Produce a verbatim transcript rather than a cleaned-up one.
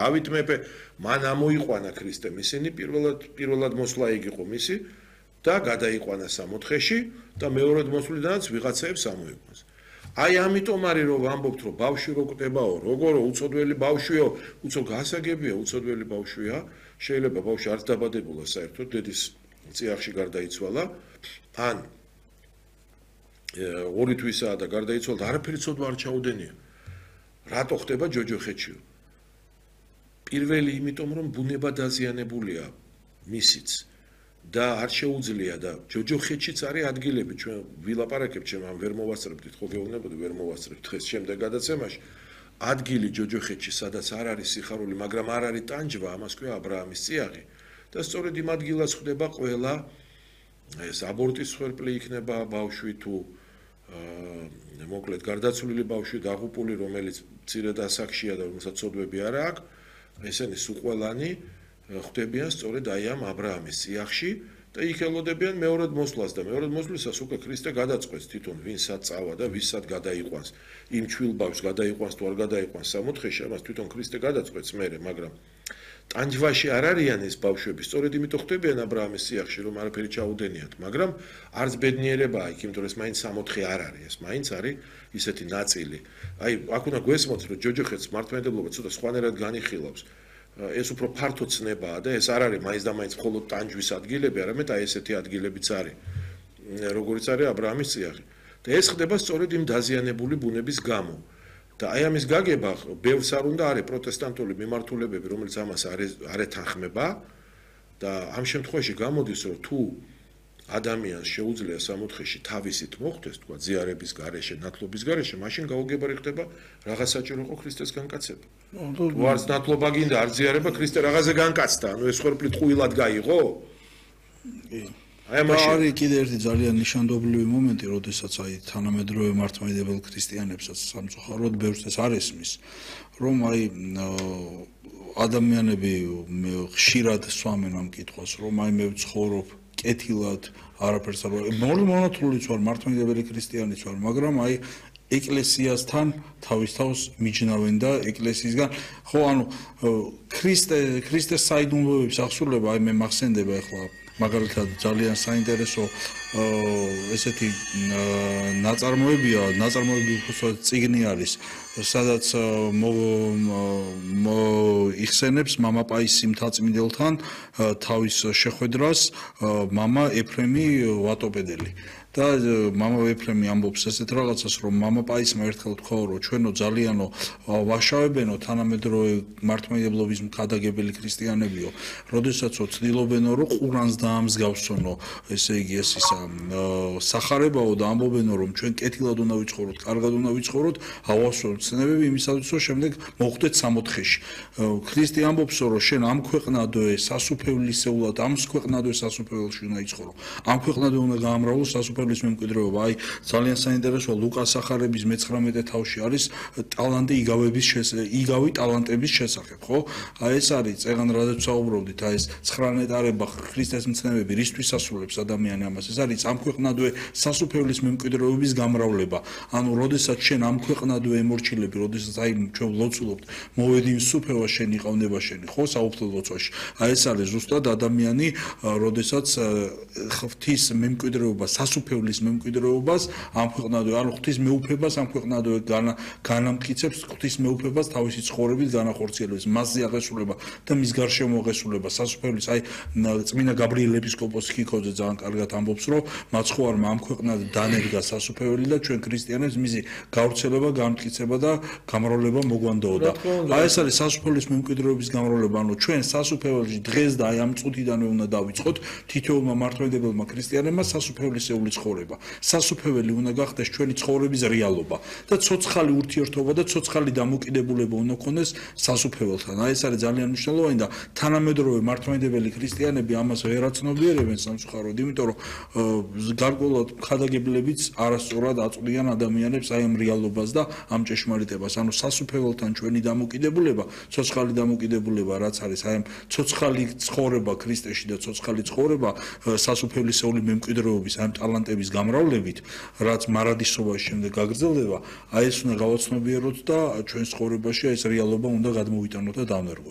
დავით მეფე მან ამოიყვანა ქრისტემ ისინი პირველად პირველად მოსვლა იგი იყო მისი და გადაიყვანა სამოთხეში და მეორედ მოსვლიდანაც ვიღაცაებს ამოიყვანს. აი ამიტომ არის რომ ვამბობთ რომ ბავშვი რო კვდებაო, როგორო უცოდველი ბავშვიო, უცო გასაგებია უცოდველი ბავშვია, შეიძლება ბავშვი არც დაბადებულა საერთოდ დედის წიაღში გარდაიცვალა, ან ორი თვისაა და გარდაიცვალა და არაფერი ცოდვა არ ჩაუდენია. რატო ხდება ჯოჯოხეთშიო? პირველი იმიტომ რომ ბუნება დაზიანებულია მისიც და არ შეუძლია და ჯოჯოხეთშიც არის ადგილები ჩვენ ვილაპარაკებთ ჩემ ამ ვერ მოვასწრებდით ხო გეუბნებოდი ვერ მოვასწრებთ დღეს შემდეგ გადაცემაში ადგილი ჯოჯოხეთში სადაც არ არის სიხარული მაგრამ არ არის ტანჯვა ამას ქვია ა ブラ ამის წიაღი და სწორედ იმ ადგილას ხდება ყველა ეს აბორტის ხერპლი იქნება ბავშვი თუ მოკლედ გარდაცვლილი ბავშვი დაღუპული რომელიც მცირე დასაკშია და რომელსაც ცოდვები არ აქვს ესენი სუყველანი ხდებიან სწორედ აი ამ ა ブラ ამის წიაღში და იქ ელოდებიან მეორედ მოსვლას და მეორედ მოსვლისას უკვე ქრისტე გადაწყვეტს თვითონ ვინსაც წავა და ვისაც გადაიყვანს იმ ჩვილ ბავშვს გადაიყვანს თუ არ გადაიყვანს სამოთხეში ამას თვითონ ქრისტე გადაწყვეტს მერე მაგრამ ტანჯვაში არ არიან ეს ბავშვები სწორედ იმიტომ ხდებიან ა ブラ ამის წიაღში რომ არაფერი ჩაუდენიათ მაგრამ არც ბედნიერებაა იქ იმიტომ რომ ეს მაინც სამოთხე არ არის ეს მაინც არის ისეთი ნაწილი აი აქ უნდა გვესმოთ რომ ჯოჯოხეთს მართლმადიდებლობა ცოტა სხვანაირად განიხილავს ეს უფრო ფართო ცნებაა და ეს არ არის მაინც და მაინც მხოლოდ ტანჯვის ადგილები, არამედ აი ესეთი ადგილებიც არის. როგორიც არის ა ブラ ამის წიაღი. და ეს ხდება სწორედ იმ დაზიანებული ბუნების გამო. და აი ამის გაგება ბევრს არ უნდა არის პროტესტანტული მიმართულებები, რომელიც ამას არ ეთანხმება და ამ შემთხვევაში გამოდის რომ თუ ადამიანს შეუძლია სამოთხეში თავისით მოხდეს, თქვა ზიარების გარეშე, ნათლობის გარეშე, მაშინ გაუგებარი ხდება რაღაც საჭირო იყო ქრისტეს განკაცება. თუ არც ნათლობა გინდა, არ ზიარება, ქრისტე რაღაცზე განკაცდა, ანუ ეს ხერფლი ტყუილად გაიღო? აი მაშინ არის კიდე ერთი ძალიან ნიშანდობლივი მომენტი, როდესაც აი თანამედროვე მართლმადიდებელ ქრისტიანებსაც სამწუხაროდ ბევრს ეს არ ესმის, რომ აი ადამიანები ხშირად სვამენ ამ კითხვას, რომ აი მე ვცხოვრობ კეთილად არაფერს არ მონათლულიც ვარ მართლმადიდებელი ქრისტიანიც ვარ მაგრამ აი ეკლესიასთან თავის თავს მიჯნავენ და ეკლესიისგან ხო ანუ ქრისტე ქრისტეს საიდუმლოების აღსრულება აი მე მახსენდება ახლა მაგალითად ძალიან საინტერესო ესეთი ნაწარმოებია ნაწარმოები უბრალოდ წიგნი არის სადაც იხსენებს მამა პაისი მთაწმინდელთან თავის შეხვედრას მამა ეფრემი ვატოპედელი და მამა ეფრემი ამბობს ესეთ რაღაცას რომ მამა პაისმა ერთხელ თქვა რომ ჩვენო ძალიანო ვაშავებენო თანამედროვე მართლმადიდებლობის მქადაგებელი ქრისტიანებიო როდესაცო ცდილობენო რომ ყურანს დაამსგავსონო ესე იგი ეს ისა სახარებაო და ამბობენო რომ ჩვენ კეთილად უნდა ვიცხოვროთ კარგად უნდა ვიცხოვროთ ავასწოროთ ცნებები იმისათვის რომ შემდეგ მოხვდეთ სამოთხეში ქრისტე ამბობს რომ შენ ამ ქვეყნადვე სასუფევლისეულად ამ ქვეყნადვე სასუფეველში უნდა იცხოვრო ამ ქვეყნადვე უნდა გაამრავლო სასუფეველის მემკვიდრეობა აი ძალიან საინტერესოა ლუკას სახარების მეცხრამეტე თავში არის ტალანტი იგავების იგავი ტალანტების შესახებ ხო აი ეს არის წეგან რადგან საუბრობდით აი ეს ცხრანეტარება ქრისტეს მცნებები რისთვის ასრულებს ადამიანი ამას ეს არის ამ ქვეყნადვე სასუფეველის მემკვიდრეობის გამრავლება ანუ როდესაც შენ ამ ქვეყნადვე ემორჩილები როდესაც აი ჩვენ ლოცულობთ მოვედი იმ სუფევა შენ იყავნება შენი ხო საუფლო ლოცვაში აი ეს არის ზუსტად ადამიანი როდესაც ღვთის მემკვიდრეობა სასუფეველის მემკვიდრეობას ამ ქვეყნადვე ანუ ღვთის მეუფებას ამ ქვეყნადვე განამტკიცებს ღვთის მეუფებას თავისი ცხოვრებით განახორციელებს მასზე აღესრულება და მის გარშემო აღესრულება სასუფეველის აი წმინდა გაბრიელ ეპისკოპოსი ქიქოძე ძალიან კარგად ამბობს რომ მაცხოვარმა ამ ქვეყნად დანერგა სასუფეველი და ჩვენ ქრისტიანებს მისი გავრცელება განმტკიცება და გამრავლება მოგვანდაოდა აი ეს არის სასუფეველის მემკვიდრეობის გამრავლება ანუ ჩვენ სასუფეველში დღეს და აი ამ წუთიდანვე უნდა დავიწყოთ თითოეულმა მართლმადიდებელმა ქრისტიანებმა სასუფეველისეული ცხოვრება სასუფეველი უნდა გახდეს ჩვენი ცხოვრების რეალობა და ცოცხალი ურთიერთობა და ცოცხალი დამოკიდებულება უნდა გქონდეს სასუფეველთან აი ეს არის ძალიან მნიშვნელოვანი და თანამედროვე მართლმადიდებელი ქრისტიანები ამას ვერ აცნობიერებენ სამწუხაროდ იმიტომ რომ გარკვეულად ხადაგებლებიც არასწორად აწვდიან ადამიანებს აი ამ რეალობას და ამ ჭეშმარიტებას ანუ სასუფეველთან ჩვენი დამოკიდებულება ცოცხალი დამოკიდებულება რაც არის აი ამ ცოცხალი ცხოვრება ქრისტეში და ცოცხალი ცხოვრება სასუფეველისეული მემკვიდრეობის ამ ტალანტების გამრავლებით რაც მარადისობაში შემდეგ გაგრძელდება აი ეს უნდა გავაცნობიეროთ და ჩვენ ცხოვრებაში ეს რეალობა უნდა გადმოვიტანოთ და დავნერგოთ